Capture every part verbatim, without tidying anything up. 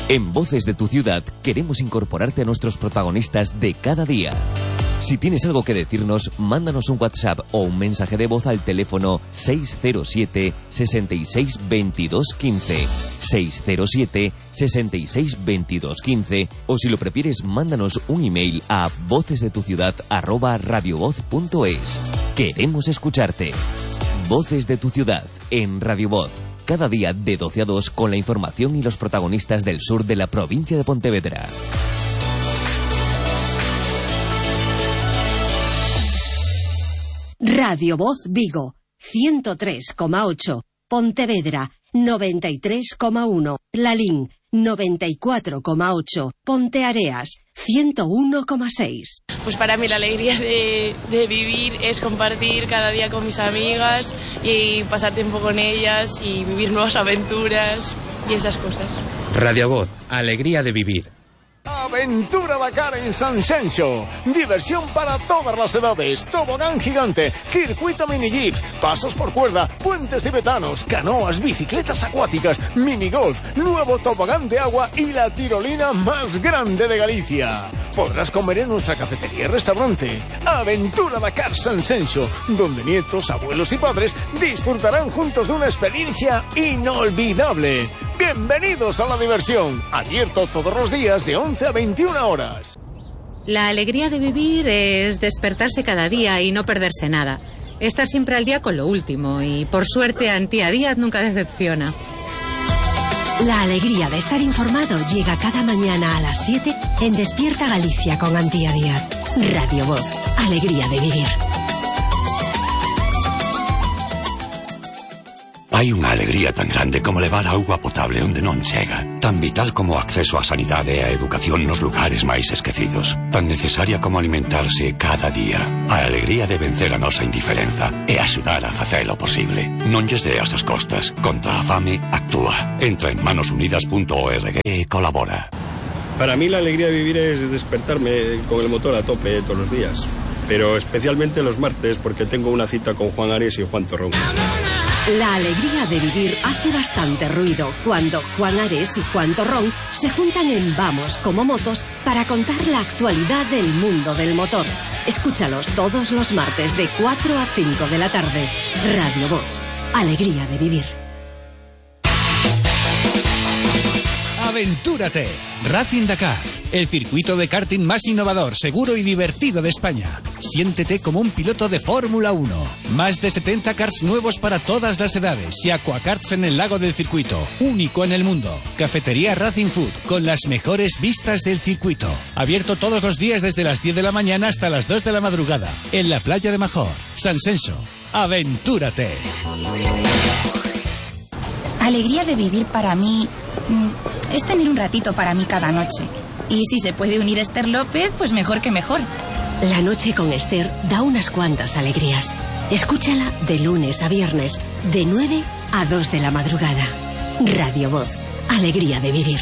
En Voces de tu Ciudad queremos incorporarte a nuestros protagonistas de cada día. Si tienes algo que decirnos, mándanos un WhatsApp o un mensaje de voz al teléfono seis cero siete, sesenta y seis, veintidós, quince, seis cero siete, sesenta y seis, veintidós, quince, o si lo prefieres, mándanos un email a vocesdetuciudad arroba radiovoz punto es. Queremos escucharte. Voces de tu Ciudad en Radio Voz. Cada día de doce a dos con la información y los protagonistas del sur de la provincia de Pontevedra. Radio Voz Vigo, ciento tres coma ocho. Pontevedra, noventa y tres coma uno. Lalín, noventa y cuatro coma ocho. Ponteareas, ciento uno coma seis. Pues para mí la alegría de, de vivir es compartir cada día con mis amigas y pasar tiempo con ellas y vivir nuevas aventuras y esas cosas. Radio Voz, alegría de vivir. Aventura Dakar en Sanxenxo. Diversión para todas las edades. Tobogán gigante, circuito mini jeeps, pasos por cuerda, puentes tibetanos, canoas, bicicletas acuáticas, minigolf, nuevo tobogán de agua y la tirolina más grande de Galicia. Podrás comer en nuestra cafetería y restaurante. Aventura Dakar Sanxenxo, donde nietos, abuelos y padres disfrutarán juntos de una experiencia inolvidable. Bienvenidos a la diversión. Abierto todos los días de once a veintiuna horas. La alegría de vivir es despertarse cada día y no perderse nada. Estar siempre al día con lo último y, por suerte, Antía Díaz nunca decepciona. La alegría de estar informado llega cada mañana a las siete en Despierta Galicia con Antía Díaz. Radio Voz, alegría de vivir. Hai unha alegría tan grande como levar auga potable onde non chega, tan vital como o acceso á sanidade e á educación nos lugares máis esquecidos, tan necesaria como alimentarse cada día. A alegría de vencer a nosa indiferenza e axudar a facelo posible. Non lles deas as costas. Contra a fame, actúa. Entra en manos unidas punto org e colabora. Para mí la alegría de vivir es despertarme con el motor a tope todos los días, pero especialmente los martes porque tengo una cita con Juan Ares y Juan Torrón. La alegría de vivir hace bastante ruido cuando Juan Ares y Juan Torrón se juntan en Vamos como Motos para contar la actualidad del mundo del motor. Escúchalos todos los martes de cuatro a cinco de la tarde. Radio Voz, alegría de vivir. Aventúrate. Racing Dakar, el circuito de karting más innovador, seguro y divertido de España. Siéntete como un piloto de Fórmula uno. Más de setenta karts nuevos para todas las edades y aquakarts en el lago del circuito, único en el mundo. Cafetería Racing Food, con las mejores vistas del circuito. Abierto todos los días desde las diez de la mañana hasta las dos de la madrugada, en la playa de Major, Sanxenxo. Aventúrate. Alegría de vivir para mí es tener un ratito para mí cada noche. Y si se puede unir Esther López, pues mejor que mejor. La noche con Esther da unas cuantas alegrías. Escúchala de lunes a viernes, de nueve a dos de la madrugada. Radio Voz, alegría de vivir.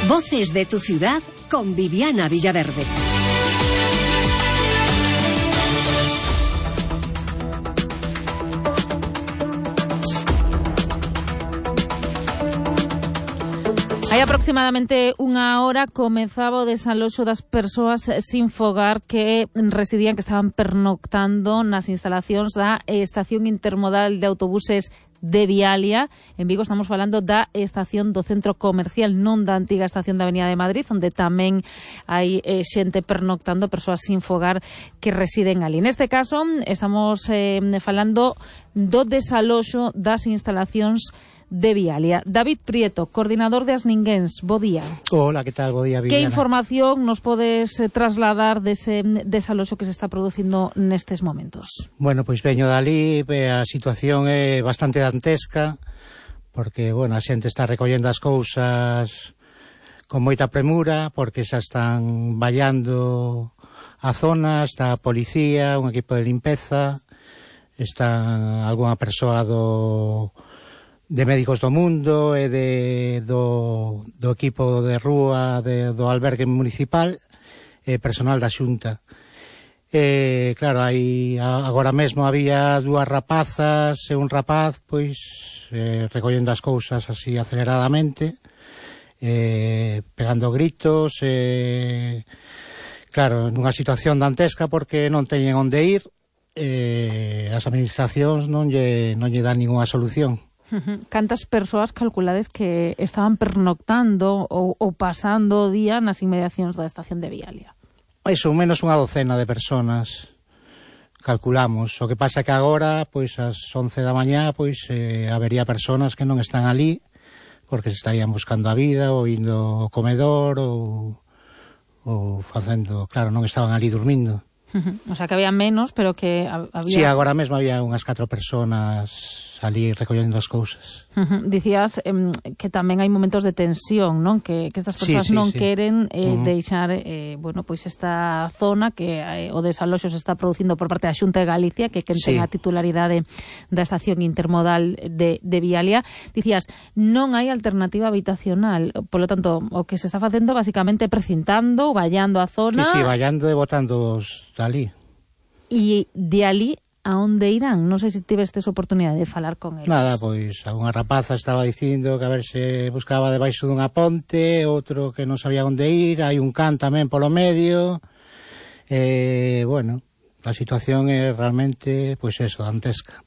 Voces de tu Ciudad con Viviana Villaverde. Hai aproximadamente unha hora comezaba o desaloxo das persoas sin fogar que residían, que estaban pernoctando nas instalacións da Estación Intermodal de Autobuses de Vialia. En Vigo estamos falando da estación do centro comercial, non da antiga estación da Avenida de Madrid, onde tamén hai eh, xente pernoctando, persoas sin fogar que residen ali. Neste caso estamos eh, falando do desaloxo das instalacións de Vialia. David Prieto, coordinador de Asninguens, bo día. Hola, que tal? Bo día, Viviana. Que información nos podes eh, trasladar dese desaloxo que se está producindo nestes momentos? Bueno, pois veño dali, a situación é bastante dantesca, porque, bueno, a xente está recollendo as cousas con moita premura, porque xa están vallando a zona, está a policía, un equipo de limpeza, está algunha persoa do de Médicos do Mundo e de, do, do equipo de rúa de, do albergue municipal e personal da Xunta. Eh, claro, hai agora mesmo había dúas rapazas e un rapaz, pois, eh, recollendo as cousas así aceleradamente, eh, pegando gritos, eh, claro, nunha situación dantesca porque non teñen onde ir, eh, as administracións non lle, non lle dan ninguna solución. Cantas persoas calculades que estaban pernoctando ou, ou pasando o día nas inmediacións da estación de Vialia? Iso, menos unha docena de personas calculamos. O que pasa é que agora, pois, ás once da mañá, pois, eh, habería personas que non están ali porque se estarían buscando a vida ou indo ao comedor ou, ou facendo, claro, non estaban ali dormindo. O sea, que había menos, pero que había... Sí, agora mesmo había unhas catro personas ali recollendo as cousas. Uh-huh. Dicías eh, que tamén hai momentos de tensión, non? Que, que estas persoas sí, sí, non sí. queren eh, uh-huh. deixar, eh, bueno, pois esta zona que eh, o desaloxo se está producindo por parte da Xunta de Galicia, que quen sí. ten a titularidade da estación intermodal de, de Vialia. Dicías, non hai alternativa habitacional, polo tanto, o que se está facendo basicamente precintando, vallando a zona... Sí, sí, vallando e botando os dali. E de ali a onde irán? Non sei se tivestes oportunidade de falar con eles. Nada, pois, a unha rapaza estaba dicindo que a ver se buscaba debaixo dunha ponte, outro que non sabía onde ir, hai un can tamén polo medio, e, eh, bueno, a situación é realmente, pois eso, dantesca.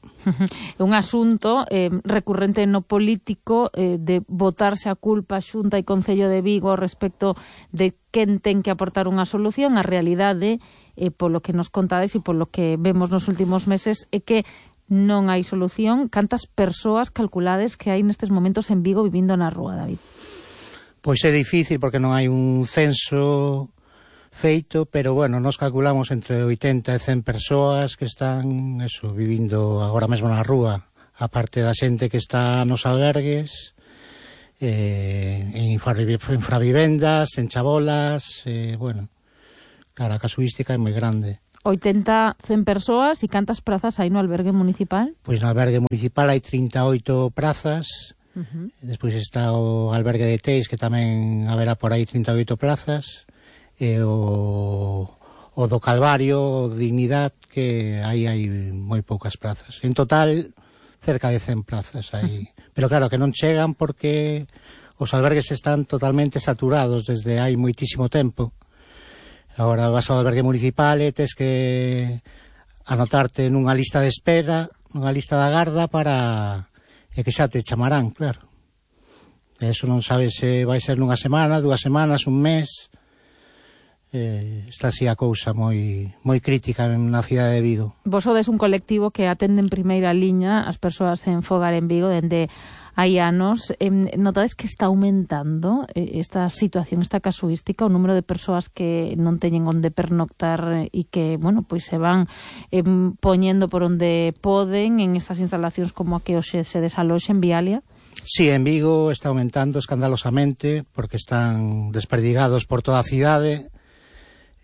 É un asunto eh, recurrente no político eh, de botarse a culpa Xunta e Concello de Vigo respecto de quen ten que aportar unha solución. A realidade, eh, polo que nos contades e polo que vemos nos últimos meses, é que non hai solución. Cantas persoas calculades que hai nestes momentos en Vigo vivindo na rúa, David? Pois é difícil porque non hai un censo feito, pero bueno, nos calculamos entre oitenta e cen persoas que están eso, vivindo agora mesmo na rúa, aparte da xente que está nos albergues, eh, en infravivendas, en chabolas, eh, bueno, claro, a casuística é moi grande. oitenta, cen persoas, e cantas prazas hai no albergue municipal? Pois no albergue municipal hai trinta e oito prazas, uh-huh. Despois está o albergue de Teis, que tamén haberá por aí trinta e oito plazas, e o, o do Calvario, o Dignidad, que aí hai moi poucas plazas. En total, cerca de cen plazas aí. Pero claro, que non chegan porque os albergues están totalmente saturados desde hai moitísimo tempo. Agora vas ao albergue municipal e tes que anotarte nunha lista de espera, nunha lista da garda para e que xa te chamarán, claro. E eso non sabes se vai ser nunha semana, dúas semanas, un mes. Eh, está así a cousa moi moi crítica na cidade de Vigo. Vos sodes un colectivo que atende en primeira liña as persoas en fogar en Vigo dende hai anos. Eh, notades que está aumentando eh, esta situación, esta casuística, o número de persoas que non teñen onde pernoctar e que, bueno, pois se van eh, poñendo por onde poden en estas instalacións como a que hoxe se desaloxe en Vialia? Sí, en Vigo está aumentando escandalosamente porque están desperdigados por toda a cidade.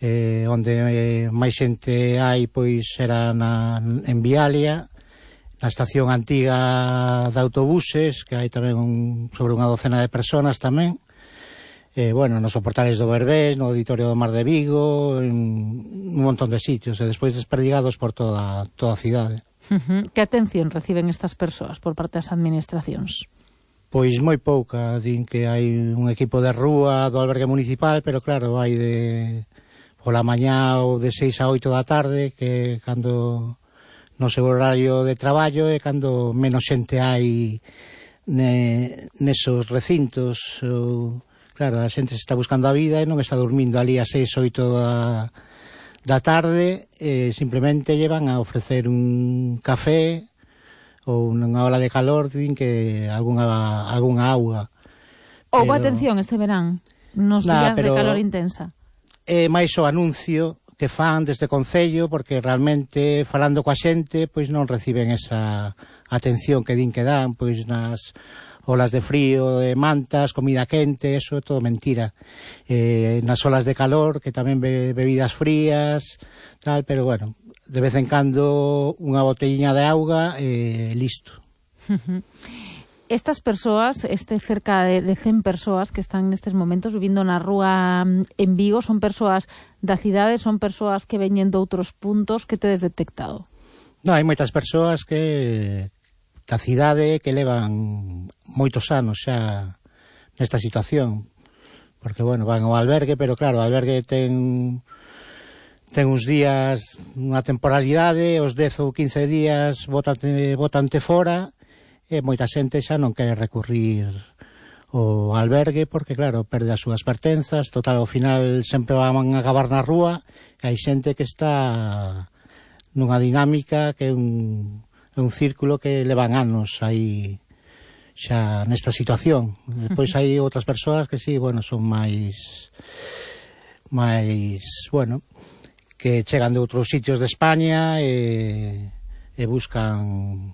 Eh, onde eh, máis xente hai, pois, era na, en Vialia, na estación antiga de autobuses, que hai tamén un, sobre unha docena de personas tamén, eh, bueno, nos soportales do Berbés, no Auditorio do Mar de Vigo, en un montón de sitios, e despois desperdigados por toda, toda a cidade. Uh-huh. Que atención reciben estas persoas por parte das administracións? Pois moi pouca, din que hai un equipo de rúa do albergue municipal, pero claro, hai de... pola mañá ou de seis a oito da tarde, que cando no seu horario de traballo é cando menos xente hai ne, nesos recintos. Ou, claro, a xente se está buscando a vida e non está dormindo ali a seis, oito da, da tarde, e simplemente llevan a ofrecer un café ou unha ola de calor, din que algunha, algunha auga. Houve pero... atención este verán, nos nah, días pero... de calor intensa. É máis o anuncio que fan desde Concello, porque realmente falando coa xente, pois non reciben esa atención que din que dan, pois nas olas de frío, de mantas, comida quente, eso é todo mentira. Eh, nas olas de calor, que tamén be, bebidas frías, tal, pero bueno, de vez en cando unha botelliña de auga e eh, listo. Estas persoas, este cerca de, de cen persoas que están nestes momentos vivindo na rúa en Vigo, son persoas da cidade, son persoas que veñen de outros puntos, que tedes detectado? Non, hai moitas persoas que da cidade que levan moitos anos xa nesta situación, porque, bueno, van ao albergue, pero claro, o albergue ten ten uns días, unha temporalidade, os dez ou quince días botante, botante fora, e moita xente xa non quere recurrir ao albergue, porque, claro, perde as súas pertenzas, total, ao final sempre van a acabar na rúa, e hai xente que está nunha dinámica que é un, un círculo que levan anos aí xa nesta situación. Depois hai outras persoas que sí, bueno, son máis máis, bueno, que chegan de outros sitios de España e, e buscan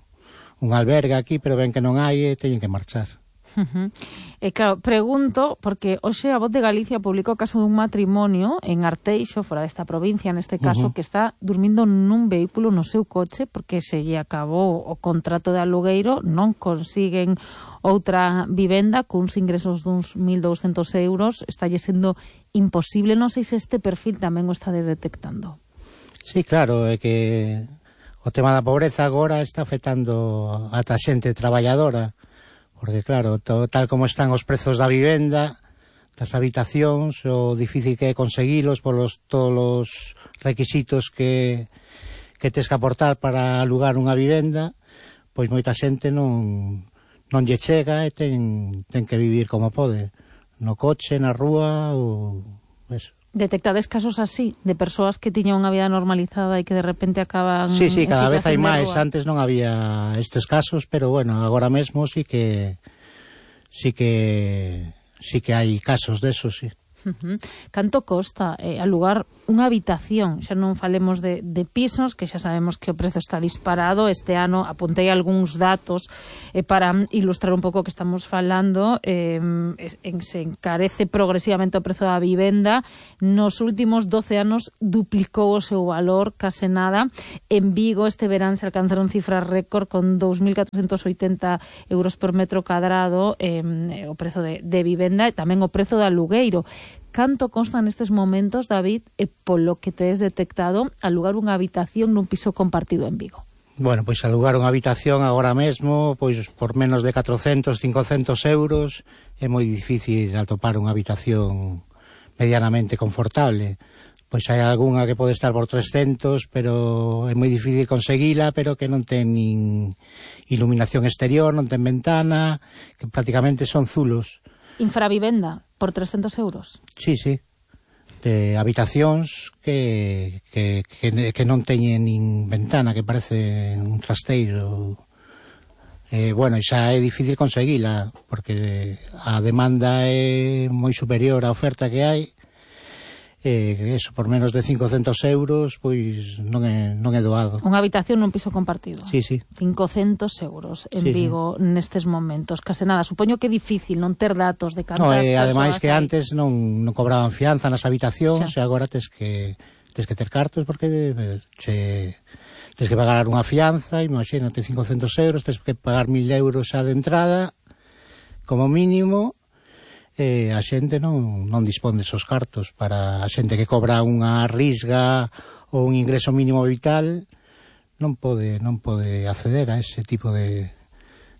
un albergue aquí, pero ven que non hai e teñen que marchar. Uh-huh. E claro, pregunto, porque hoxe a Voz de Galicia publicou o caso dun matrimonio en Arteixo, fora desta provincia, neste caso, uh-huh. que está dormindo nun vehículo no seu coche porque se lle acabou o contrato de alugueiro, non consiguen outra vivenda cuns ingresos duns mil douscentos euros, está lle sendo imposible. Non sei se este perfil tamén o estades detectando. Sí, claro, é que o tema da pobreza agora está afectando ata xente traballadora, porque, claro, todo, tal como están os prezos da vivenda, das habitacións, o difícil que é conseguilos polos todos os requisitos que, que tes que aportar para alugar unha vivenda, pois moita xente non, non lle chega e ten, ten que vivir como pode, no coche, na rúa, ou eso. Detectades casos así, de persoas que tiñan unha vida normalizada e que de repente acaban... Sí, sí, cada vez hai máis. Antes non había estes casos, pero bueno, agora mesmo sí que sí que sí que hai casos desos, sí. Uh-huh. Canto costa eh, alugar unha habitación? Xa non falemos de, de pisos, que xa sabemos que o prezo está disparado. Este ano apuntei algúns datos eh, para ilustrar un pouco o que estamos falando. Eh, en, se encarece progresivamente o prezo da vivenda. Nos últimos doce anos duplicou o seu valor, case nada. En Vigo este verán se alcanzaron cifras récord con dous mil catrocentos oitenta euros por metro cadrado, eh, o prezo de, de vivenda, e tamén o prezo de alugueiro. Canto consta nestes momentos, David, e polo que tes detectado, alugar unha habitación nun piso compartido en Vigo? Bueno, pois alugar unha habitación agora mesmo, pois por menos de catrocentos, cincocentos euros, é moi difícil atopar unha habitación medianamente confortable. Pois hai algunha que pode estar por trescentos, pero é moi difícil conseguila, pero que non ten nin iluminación exterior, non ten ventana, que prácticamente son zulos. Infravivenda, por trescentos euros? Sí, sí. De habitacións que, que, que, que non teñen nin ventana, que parece un trasteiro. Eh, bueno, xa é difícil conseguila, porque a demanda é moi superior á oferta que hai. Eh, eso, por menos de cincocentos euros, pois non é, non é doado. Unha habitación nun piso compartido? Sí, sí. cincocentos euros en sí, Vigo sí. Nestes momentos, case nada. Supoño que é difícil non ter datos de cantas no, eh, ademais que hai. Antes non, non cobraban fianza nas habitacións, xa. E agora tes que, tes que ter cartos, porque che, tes que pagar unha fianza, imagínate, cincocentos euros, tes que pagar mil euros xa de entrada, como mínimo. Eh, a xente non, non dispón desos cartos. Para a xente que cobra unha risga ou un ingreso mínimo vital, non pode non pode acceder a ese tipo de,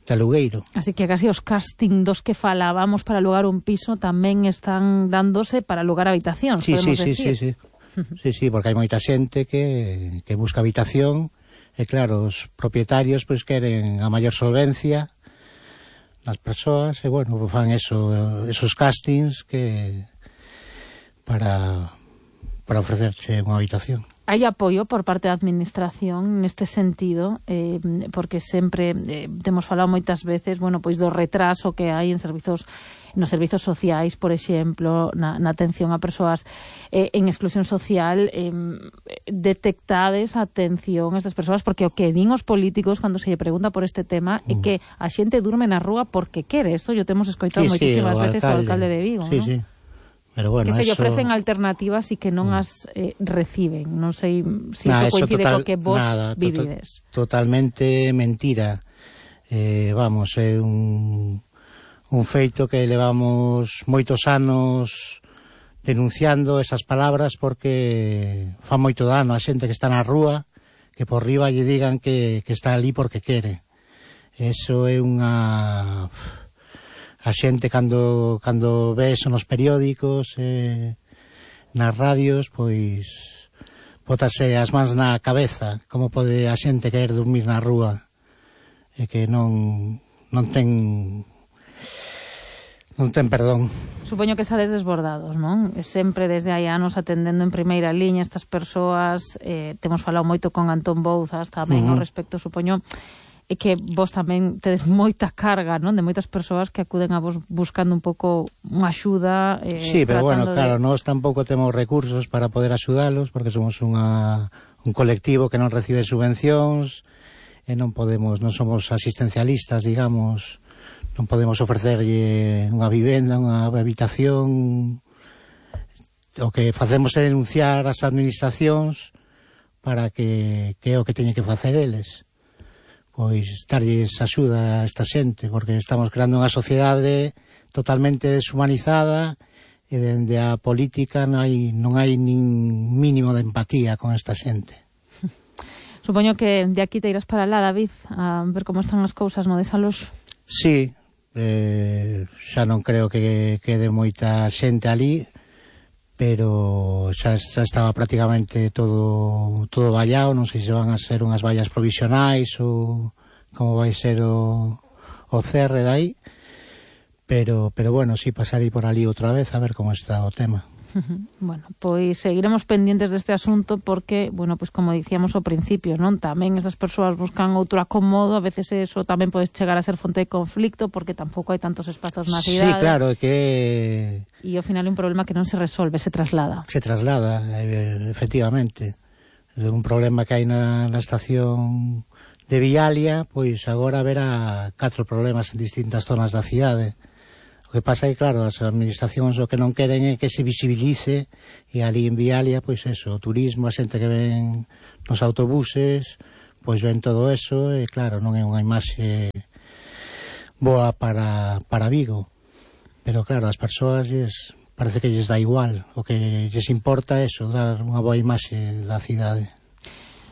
de alugueiro. Así que casi os casting dos que falábamos para alugar un piso tamén están dándose para alugar habitacións, sí, podemos sí, decir. Sí, sí, sí. sí, sí, porque hai moita xente que, que busca habitación e claro, os propietarios pois queren a maior solvencia nas persoas, e bueno, fan eso, esos castings que para para ofrecerche unha habitación. Hai apoio por parte da administración neste sentido, eh, porque sempre eh, temos falado moitas veces, bueno, pois do retraso que hai en servizos nos servizos sociais, por exemplo, na, na atención a persoas eh, en exclusión social, eh, detectades a atención a estas persoas, porque o que din os políticos cando se lle pregunta por este tema mm. é que a xente durme na rúa porque quere. Isto yo temos escoitado sí, moitísimas sí, veces ao alcalde de Vigo, sí, ¿no? Sí. Pero bueno, que se lle eso... ofrecen alternativas e que non as eh, reciben. Non sei se si nah, iso coincide total, co que vos nada, vivides. Total, totalmente mentira. Eh, vamos, é un, un feito que levamos moitos anos denunciando esas palabras porque fa moito dano a xente que está na rúa, que por riba lle digan que, que está ali porque quere. Eso é unha... A xente cando, cando ve eso nos periódicos, eh, nas radios, pois bótase as mans na cabeza. Como pode a xente querer dormir na rúa e que non, non ten non ten perdón. Supoño que estades desbordados, non? Sempre desde hai anos atendendo en primeira liña estas persoas, eh, temos falado moito con Antón Bouzas tamén uh-huh. ao respecto, supoño e que vos tamén tedes moita carga, non? De moitas persoas que acuden a vos buscando un pouco unha axuda. Eh, sí, pero bueno, de... claro, nós tampouco temos recursos para poder axudalos, porque somos unha, un colectivo que non recibe subvencións, e non podemos, non somos asistencialistas, digamos, non podemos ofrecerlle unha vivenda, unha habitación. O que facemos é denunciar as administracións para que, que é o que teñen que facer eles. Pois darlles axuda a esta xente, porque estamos creando unha sociedade totalmente deshumanizada e dende a política non hai, non hai nin mínimo de empatía con esta xente. Supoño que de aquí te irás para lá, David, a ver como están as cousas no desaloxo. Sí, eh, xa non creo que quede moita xente ali, pero xa, xa estaba prácticamente todo todo vallado, non sei se van a ser unhas vallas provisionais ou como vai ser o, o cerre dai, pero, pero bueno, si sí, pasarei por ali outra vez a ver como está o tema. Bueno, pois seguiremos pendientes deste asunto porque, bueno, pois como dicíamos ao principio, non? Tamén esas persoas buscan outro acomodo, a veces eso tamén pode chegar a ser fonte de conflicto porque tampouco hai tantos espazos na cidade. Sí, claro, que... E ao final é un problema que non se resolve, se traslada. Se traslada, efectivamente. Un problema que hai na, na estación de Vialia, pois agora haberá catro problemas en distintas zonas da cidade. O que pasa é que, claro, as administracións o que non queren é que se visibilice, e ali en Vialia, pois eso, o turismo, a xente que ven nos autobuses, pois ven todo eso, e claro, non é unha imaxe boa para, para Vigo. Pero claro, as persoas lles, parece que lles dá igual, o que lles importa é eso, dar unha boa imaxe da cidade.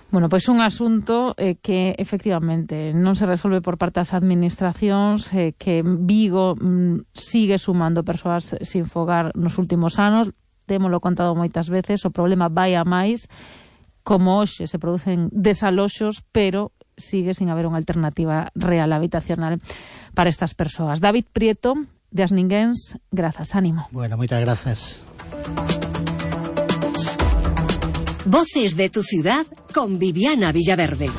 Bueno, pois un asunto eh, que efectivamente non se resolve por parte das administracións, eh, que Vigo mm, sigue sumando persoas sin fogar nos últimos anos, témolo contado moitas veces, o problema vai a máis, como hoxe se producen desaloxos, pero sigue sin haber unha alternativa real habitacional para estas persoas. David Prieto, de As Ninguéns, grazas, ánimo. Bueno, moitas grazas. Voces de tu ciudad con Viviana Villaverde.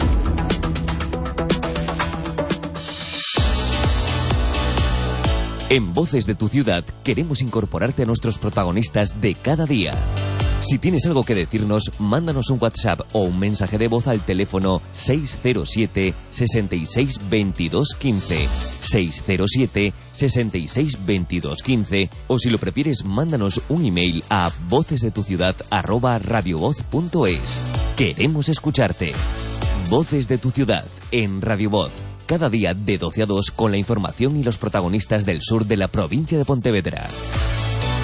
En Voces de tu ciudad queremos incorporarte a nuestros protagonistas de cada día. Si tienes algo que decirnos, mándanos un WhatsApp o un mensaje de voz al teléfono seis cero siete, sesenta y seis, veintidós, quince, seis cero siete, sesenta y seis, veintidós, quince, o si lo prefieres, mándanos un email a vocesdetuciudad arroba radiovoz punto es. Queremos escucharte. Voces de tu ciudad en Radio Voz, cada día de doce a dos con la información y los protagonistas del sur de la provincia de Pontevedra.